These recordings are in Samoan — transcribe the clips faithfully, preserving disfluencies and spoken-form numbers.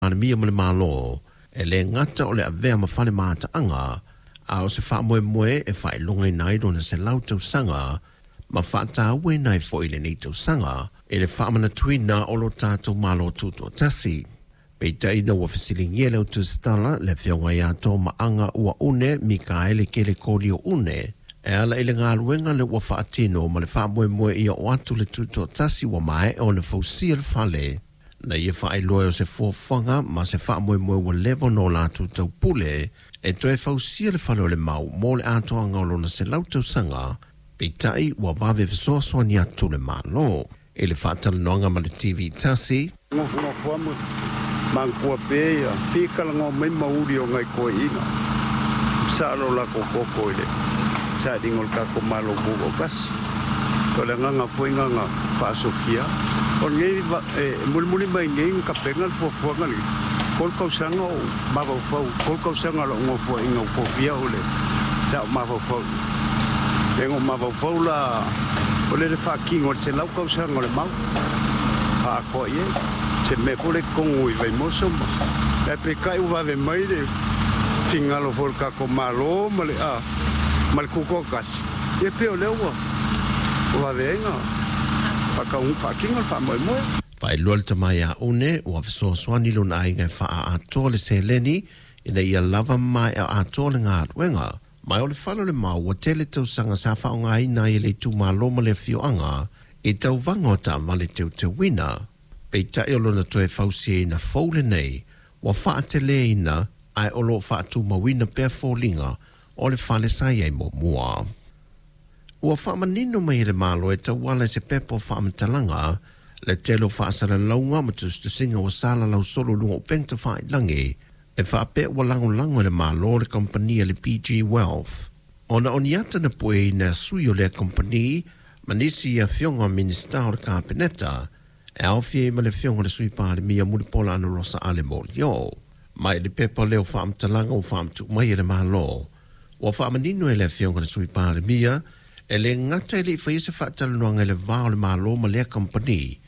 Palemia ma le Malo, e le gata o le avea ma fale mataaga, a o se faamoemoe e faailogaina ai lona selau tausaga ma faatauaina ai foi lenei tausaga i le faamanatuina o lo tatou Malo Tutoatasi. Peitai ina ua fesiligia le autusitala le afioga ia Tomaaga Uaune Mikaele Kelekolioune e ala i le galuega lea ua faatino ma le faamoemoe ia oo atu le tutoatasi ua maea ona fausia le fale, na ia faailoa o se fuafuaga ma se faamoemoe ua leva ona o latou taupule e toe fausia le fale o le mau mo le atoaga o lona selau tausaga, peitai ua vave fesoasoani atu le Malo. I le faatalanoaga ma le T V tasi, Nofonofo ma manatua pea ia pikalagoa mai mauli o ngai toeaiina. Sa alo la koko i le sailiga o le tatou Malo Tutoatasi. O le agaga foi na faasofia. O lenei e mulimuli mai nei na tapena le fuafuaga lenei. Tolu tausaga o mafaufau, tolu tausaga o lou nofoaiga o tofia o le sa o mafaufau. E ngo mafaufau la o le le faatino o le selau tausaga o le mau. Atoa i ai. Se mea foi le totonu i Vaimoso ma. E peitai ua vave mai le fingalo foi o le tatou Malo ma le, a, ma le Tutoatasi. Ia pei o lea ua vave ai na faatino le faamoemoe. Faailoa le tama ia Une ua fesoasoani lona aiga e faaatoa le seleni ina ia lava maea atoa le galuega. Mai o le fale o le mau ua tele tausaga sa faaaogaina ai e le itumalo ma le afioaga i tauvaga o taavale teuteuina. Peitai o lona toe fausiaina fou lenei ua faateleina ae o loo faatumauina pea foliga o le fale sa i ai muamua. Ua faamanino mai e le Malo e tauala i se pepa o faamatalaga le tele o faasalalauga ma tusitusiga ua salalau solo i luga o upega tafailagi e faapea ua lagolago e le Malo le kamupani a le P G Wealth. Ona o ni ata na pueina e sui o lea kamupani ma nisi afioga o Minista o le Kapeneta e aofia ai ma le afioga o le Sui Palemia Mulipola Anarosa Ale Molioo. Mai le pepa lea o faamatalaga ua faamatuu mai e le Malo, ua faamanino e le afioga o le Sui Palemia e le gata e le i faia se faatalanoaga i le va o le Malo ma lea kamupani,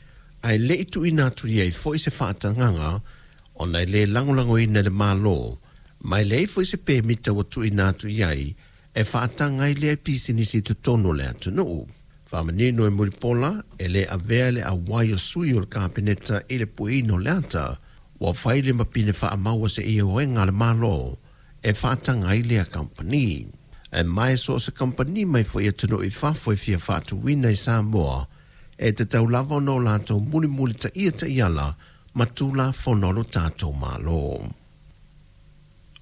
ae le i tuuina atu i ai foi se faatagaga ona e le lagolagoina e le Malo, ma e leai foi se pemita ua tuuina atu i ai e faataga ai lea pisinisi i totonu o le atunuu. Faamanino e Mulipola e le avea le auai o sui o le Kapeneta i le pueina o le ata, ua fai le mapine faamaua se ioega a le Malo e faataga ai lea kamupani. E mai so o se kamupani mai foi atunuu i fafo e fia faatuina i Samoa, e tatau lava ona o latou mulimuli taia taiala ma tulafono o lo tatou Malo.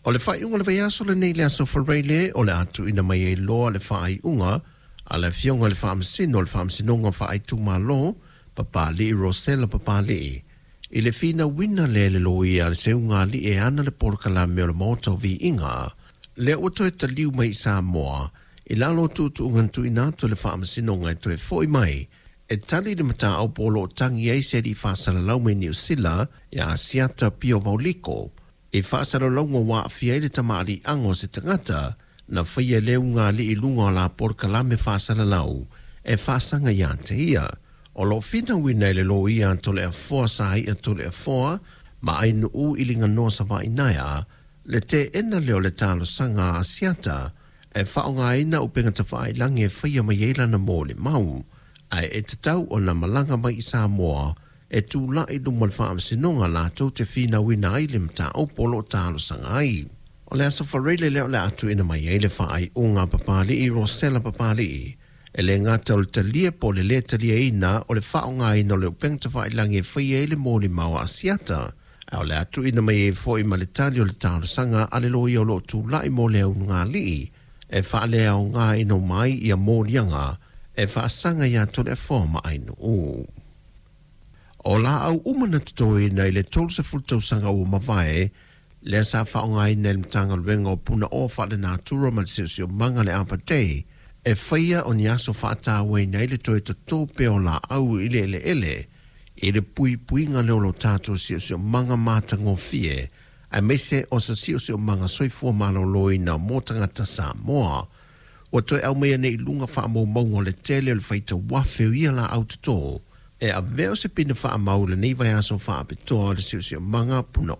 O le faaiuga o le vaiaso lenei le aso Faraile o le a tuuina mai ai loa le faaiuga a le afioga i le Faamasino o le Faamasinoga Faaitumalo Papali'i Rosela Papali'i i le finauina lea e le loia a le seuga alii e ana le polokalame o le Maota o Viiga lea ua toe taliu mai i Samoa i lalo o tuutuuga na tuuina atu e le Faamasinoga e toe foi mai e tali le mataupu o loo tagi ai se alii faasalalau mai Niu Sila ia Asiata Pio Vauliko i faasalalauga ua aafia ai le tamaaliiaga o se tagata na faia e le ugaalii i luga o la polokalame faasalalau e faasaga ia te ia. O loo finauina e le loia a Toleafoa Saia Toleafoa ma Ainuu i Liganoa Savaiinaea le teena lea o le talosaga a Asiata e faaaogaina upega tafailagi e faia mai ai lana molimau, ae e tatau ona malaga mai i Samoa e tulai luma o le faamasinoga latou te finauina ai le mataupu o loo talosaga ai. O le aso Faraile lea o le a tuuina mai ai le faaiuga a Papali'i Rosela Papali'i e le gata o le talia po o le lē taliaina o le faaaogaina o le upega tafailagi e faia ai le molimau a Asiata, ae o le a tuuina mai ai foi ma le tali o le talosaga a le loia o loo tulai mo le augaalii e faaleaogaina mai ia moliaga e faasaga ia Toleafoa ma Ainuu. O laau uma na totoina i le tolu sefulu tausaga ua mavae lea sa faaaogaina e le Matagaluega o Punaoa Faalenatura ma le Siosiomaga le Apatei e faia o ni aso faatauaina ai le toe totō pea o laau i le eleele i le puipuiga lea o lo tatou siosiomaga matagofie aemaise o se siosiomaga soifua maloloina mo tagata Samoa. Ua toe aumaia nei i luga faamaumauga o le tele o le faitauafe o ia laau totō e avea o se pine faamau i lenei vaiaso faapitoa o le siosiomaga punaoa